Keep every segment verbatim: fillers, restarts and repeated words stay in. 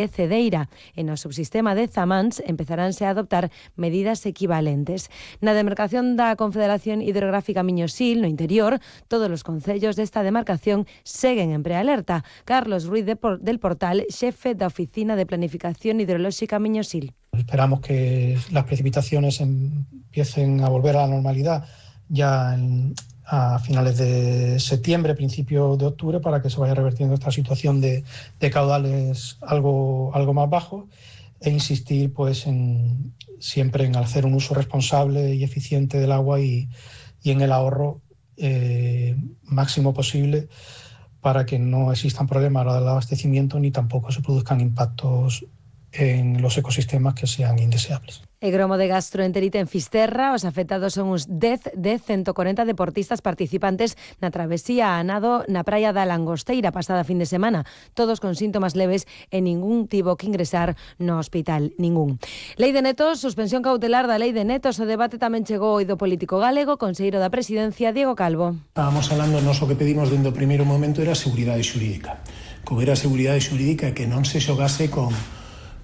e Cedeira. E no subsistema de Zamáns empezaránse a adoptar medidas equivalentes. Na demarcación da Confederación Hidrográfica Miño-Sil, no interior, todos os concellos desta demarcación seguen en prealerta. Carlos Ruiz de Por, del Portal, xefe da Oficina de Planificación Hidrolóxica Miño-Sil. Esperamos que las precipitaciones empiecen a volver a la normalidad ya en, a finales de septiembre, principio de octubre, para que se vaya revertiendo esta situación de, de caudales algo, algo más bajos, e insistir pues en, siempre en hacer un uso responsable y eficiente del agua y, y en el ahorro eh, máximo posible, para que no existan problemas a la hora del abastecimiento ni tampoco se produzcan impactos en los ecosistemas que sean indeseables. E gromo de gastroenterite en Fisterra, os afectados son uns dez de ciento cuarenta deportistas participantes na travesía a nado na praia da Langosteira pasada fin de semana, todos con síntomas leves e ningún tivo que ingresar no hospital, ningún. Lei de netos, suspensión cautelar da lei de netos, o debate tamén chegou ao do político galego, conselleiro da Presidencia, Diego Calvo. Estábamos falando, nos o que pedimos dende o primeiro momento era seguridade xurídica, que houbera seguridade xurídica e que non se xogase con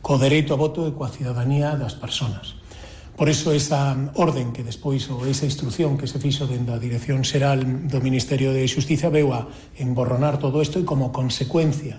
co dereito a voto e coa cidadanía das persoas. Por iso esa orden que despois, ou esa instrucción que se fixo dende a Dirección Xeral do Ministerio de Xustiza veu a emborronar todo isto, e como consecuencia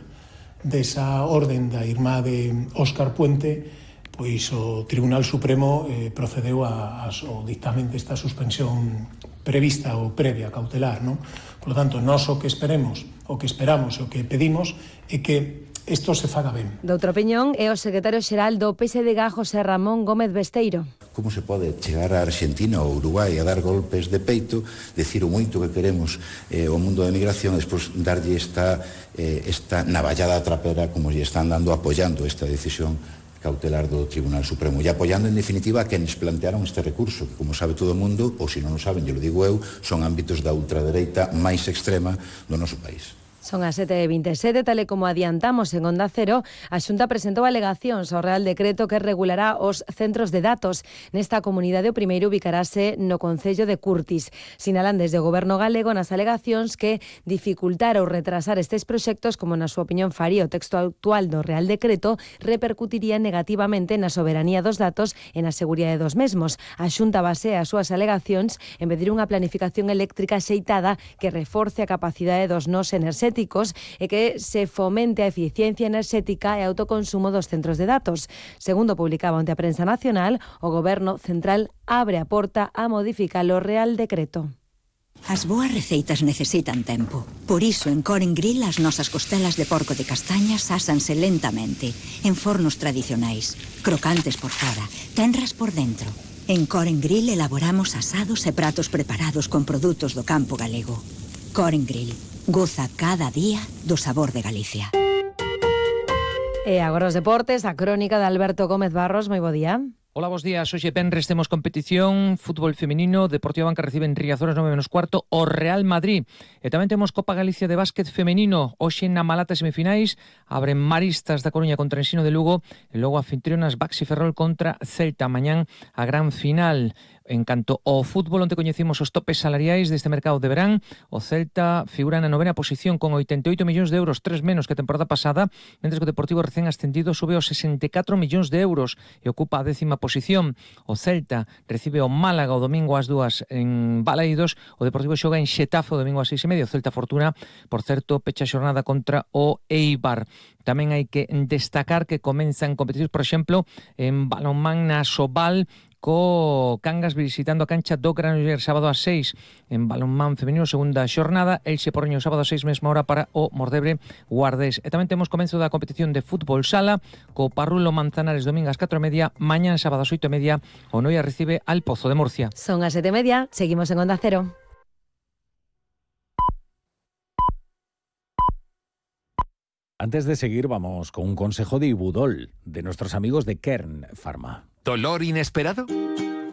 desa orden da irmá de Óscar Puente, pois o Tribunal Supremo eh, procedeu a, a, ao dictamen desta suspensión prevista ou previa cautelar, non? Por lo tanto, nós o que esperemos, o que esperamos, o que pedimos é que isto se faga ben. Doutra opinión é o secretario xeral do P S D G, José Ramón Gómez Besteiro. Como se pode chegar a Argentina ou Uruguai a dar golpes de peito, decir o moito que queremos eh, o mundo da migración, e despois darlle esta, eh, esta navallada trapera como lle están dando, apoiando esta decisión cautelar do Tribunal Supremo e apoiando en definitiva a quenes plantearon este recurso, que como sabe todo o mundo, ou se non o saben, yo lo digo eu, son ámbitos da ultradereita máis extrema do noso país. Son as sete e vinte e sete, tal e como adiantamos en Onda Cero, a Xunta presentou alegacións ao Real Decreto que regulará os centros de datos. Nesta comunidade o primeiro ubicarase no concello de Curtis. Sinalan desde o Goberno galego nas alegacións que dificultar ou retrasar estes proxectos, como na súa opinión faría o texto actual do Real Decreto, repercutiría negativamente na soberanía dos datos e na seguridade dos mesmos. A Xunta basea as súas alegacións en pedir unha planificación eléctrica xeitada que reforce a capacidade dos nós enerxéticos e que se fomente a eficiencia enerxética e autoconsumo dos centros de datos. Segundo publicaba onte a Prensa Nacional, o Goberno Central abre a porta a modificar o Real Decreto. As boas receitas necesitan tempo. Por iso, en Coren Grill, as nosas costelas de porco de castañas ásanse lentamente, en fornos tradicionais, crocantes por fora, tenras por dentro. En Coren Grill elaboramos asados e pratos preparados con produtos do campo galego. Coren Grill. Goza cada día do sabor de Galicia. E agora os deportes, a crónica de Alberto Gómez Barros. Moi bo día. Hola, bos días. Hoxe venres temos competición, fútbol femenino, Deportivo Banca recibe en Riazor as nove menos cuarto o Real Madrid. E tamén temos Copa Galicia de básquet femenino. Hoxe na Malata semifinais abren Maristas da Coruña contra Ensino de Lugo e logo anfitrionas Baxi Ferrol contra Celta. Mañán a gran final. En canto ao fútbol, onte coñecimos os topes salariais deste mercado de verán. O Celta figura na novena posición con oitenta e oito millóns de euros, tres menos que a temporada pasada, mentres que o Deportivo recén ascendido sube aos sesenta e catro millóns de euros e ocupa a décima posición. O Celta recibe o Málaga o domingo ás dúas en Balaídos. O Deportivo xoga en Xetafe o domingo ás seis e media. O Celta Fortuna, por certo, pecha a xornada contra o Eibar. Tamén hai que destacar que comenzan competicións, por exemplo, en balonmán na Sobal, co Cangas visitando a cancha do Granollers sábado ás seis en balonmán femenino, segunda xornada. Elxe Porriño sábado ás seis, mesma hora para o Mordebre Guardés. E tamén temos comenzo da competición de fútbol sala co Parrulo Manzanares domingo ás catro e media, mañán sábado ás oito e media o Noia recibe al Pozo de Murcia. Son as sete e media, seguimos en Onda Cero. Antes de seguir, vamos con un consejo de Ibudol, de nuestros amigos de Kern Pharma. ¿Dolor inesperado?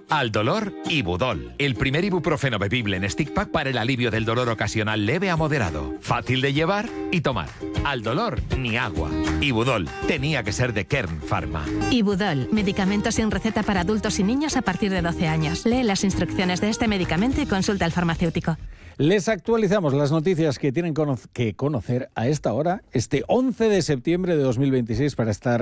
Al dolor, Ibudol. El primer ibuprofeno bebible en stick pack para el alivio del dolor ocasional leve a moderado. Fácil de llevar y tomar. Al dolor, ni agua. Ibudol. Tenía que ser de Kern Pharma. Ibudol. Medicamento sin receta para adultos y niños a partir de doce años. Lee las instrucciones de este medicamento y consulta al farmacéutico. Les actualizamos las noticias que tienen que conocer a esta hora, este once de septiembre de dos mil veintiséis, para estar